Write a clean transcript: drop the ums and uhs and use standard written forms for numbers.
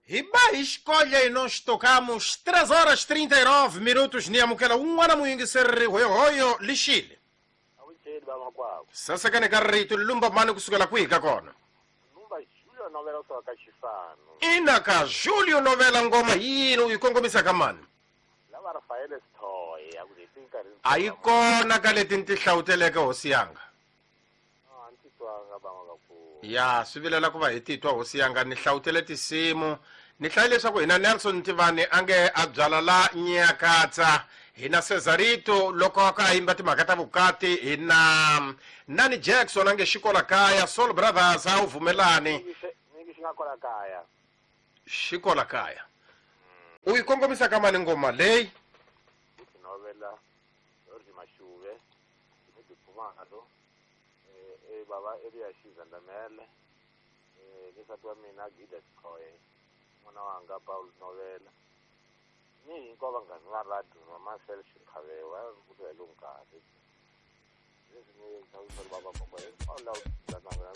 Hi ba hi xikolye nós tocamos 3 horas 39 minutos ni amukela un'wana muyingiseri hoyohoyo lixile. Avuxeni vamakwavo. Sasekani ka rito lumba mani kusukela kwihi ka kona? Lumba Julio Novela kusuka ka Xisano. Ina ka Julio Novela, ngoma yini u yi kongomisa ka mani? Lava Rafael Sithoye a ku leti nkarhi. A yi kona ka leti ni ti hlawuteleke, hosi yanga. A ni titwanga van'wakakulu. Ya swi vilela ku va hi titwa, hosi yanga. Ni hlawutele tinsimu, ni hlaye leswaku hina Nelson Tivani a nge a byala la Nyakatsa, hina Cesarito loko a ka a yimba timhaka ta vukati, hina Nani Jackson a nge xikola kaya, Soul Brothers a wu vumelani. Nyingi xi nga kola kaya. Xikola kaya u yi kongomisa ka mani ngoma leyi? Ku novela George Mashuve ni Khumalo, eh baba Elias Zandamele, ni nsati wa mina Gida Sikhoye, n'wana wanga Paul Novela, ni hinkwavo vanghani va radio na Marcel Xikhavewa ku hi lowu nkarhi leswi ni xavisela baba hinkwavo lava.